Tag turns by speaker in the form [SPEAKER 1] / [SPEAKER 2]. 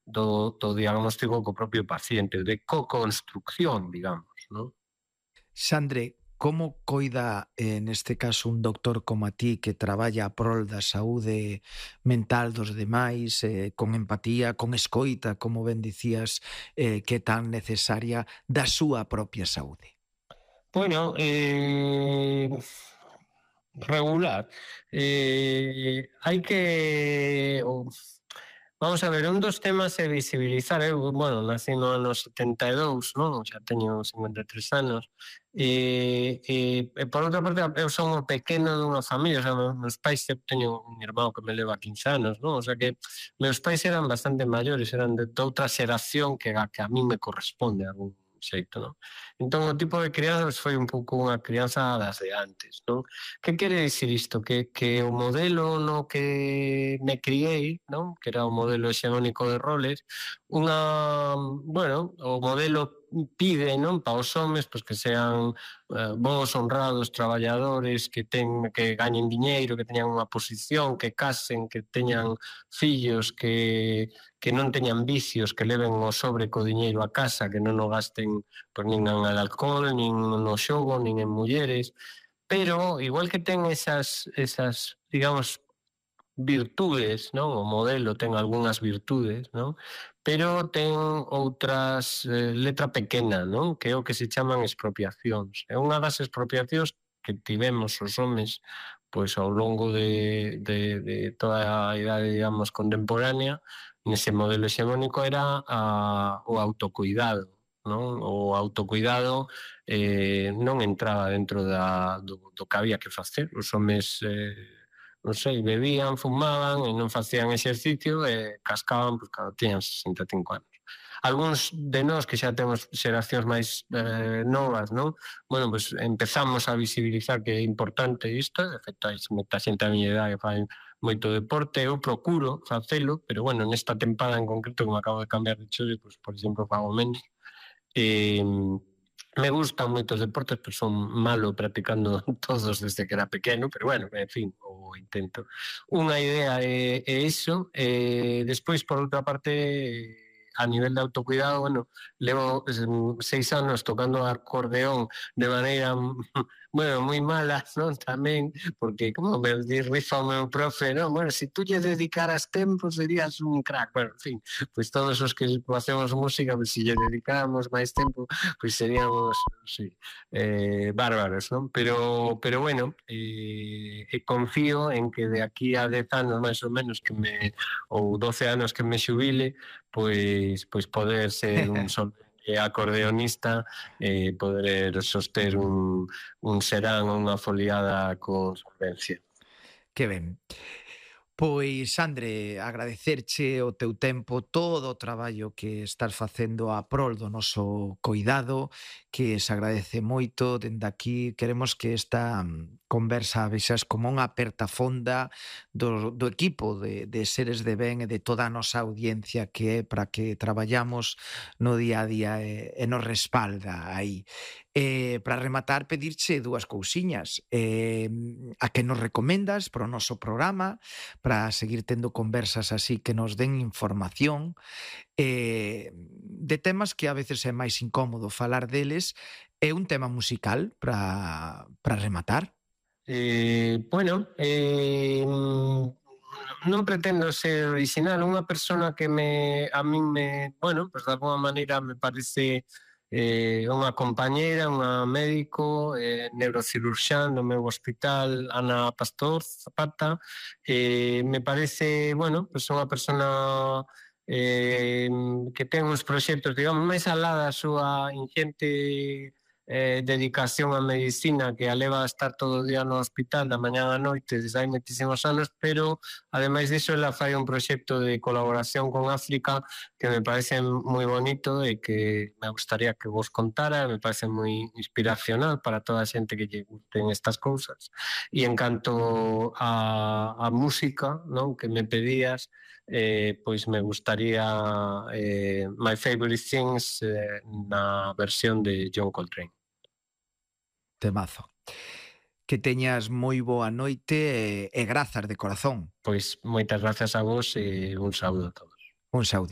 [SPEAKER 1] do diagnóstico co propio paciente, de co-construcción, digamos, non?
[SPEAKER 2] Xandre, como coida, neste caso, un doctor como a ti que traballa a prol da saúde mental dos demais, con empatía, con escoita, como ben dicías, que é tan necesaria da súa propia saúde?
[SPEAKER 1] Bueno, regular. Hai que... Vamos a ver, un dos temas é visibilizar. Eu, bueno, nací no ano 72, non? Xa teño 53 anos. Por outra parte, eu son o pequeno dunha familia. O sea, meus pais, eu teño un irmão que me leva 15 anos, non? O sea que meus pais eran bastante maiores, eran de outra xeración que a mí me corresponde a algún xeito, non? Entón, o tipo de crianzas foi un pouco unha crianza das de antes, non? Que quere dicir isto? Que o modelo no que me criei, non? Que era o modelo hexemónico de roles, bueno, o modelo pide, non, para os homes, pois que sean bons, honrados, traballadores, que gañen diñeiro, que teñan unha posición, que casen, que teñan fillos, que non teñan vicios, que leven o sobre co diñeiro a casa, que non o gasten pois, nin en alcohol, nin no xogo, nin en mulleres. Pero, igual que ten esas digamos, virtudes, non? O modelo ten algunhas virtudes, non? Pero ten outras, letra pequena, non? Que é o que se chaman expropiacións. É unha das expropiacións que tivemos os homes pois ao longo de toda a idade, digamos, contemporánea, nese modelo hexemónico era o autocuidado, non? O autocuidado non entraba dentro do que había que facer. Os homes non sei, bebían, fumaban e non facían exercicio e cascaban pois, cando tiñan 65 anos. Algúns de nós que xa temos xeracións máis novas, non? Bueno, pois empezamos a visibilizar que é importante isto. De feito, hai moita xente a miña idade que fai moito deporte, eu procuro facelo, pero bueno, nesta tempada en concreto que me acabo de cambiar de chole, pois, por exemplo, fago menos. Me gustan moitos deportes, pero son malo practicando todos desde que era pequeno, pero bueno, en fin, o intento. Unha idea é iso. Despois, por outra parte, a nivel de autocuidado, bueno, levo 6 anos tocando acordeón de maneira bueno, moi mala, non? Tamén, porque como me rifa o meu profe, non? Bueno, se tú lle dedicaras tempo serías un crack. Bueno, en fin, pois todos os que facemos música, pois se lle dedicáramos máis tempo, pois seríamos, sí, bárbaros, non? Pero bueno, confío en que de aquí a 10 anos máis ou menos ou 12 anos que me xubile, pois poder ser un solvente acordeonista, poder soster un serán ou unha foliada con solvencia.
[SPEAKER 2] Que ben. Pois, Sandre, agradecerche o teu tempo, todo o traballo que estás facendo a prol do noso coidado, que se agradece moito. Dende aquí queremos que esta conversa vexas como unha aperta fonda do equipo de Seres de Ben e de toda a nosa audiencia que é para que traballamos no día a día e nos respalda aí. Para rematar, pedirche dúas cousiñas. A que nos recomendas para o noso programa, para seguir tendo conversas así que nos den información de temas que a veces é máis incómodo falar deles, é un tema musical para rematar.
[SPEAKER 1] Bueno, non pretendo ser original. Unha persona que a min bueno, pues de alguma maneira me parece unha compañeira, unha médico, neurocirurxán do meu hospital, Ana Pastor Zapata. Me parece, bueno, pues unha persona que ten uns proxectos, digamos, máis alá da súa ingente dedicación á medicina, que a leva a estar todo o día no hospital da mañá á noite desde hai moitísimos anos, pero ademais diso ela fai un proxecto de colaboración con África que me parece moi bonito e que me gustaría que vos contara. Me parece moi inspiracional para toda a xente que lle gusten estas cousas. E en canto a música, non, que me pedías, pois me gustaría My Favorite Things na versión de John Coltrane.
[SPEAKER 2] Temazo. Que teñas moi boa noite e grazas de corazón.
[SPEAKER 1] Pois moitas grazas a vos e un saúdo a todos.
[SPEAKER 2] Un saudiño.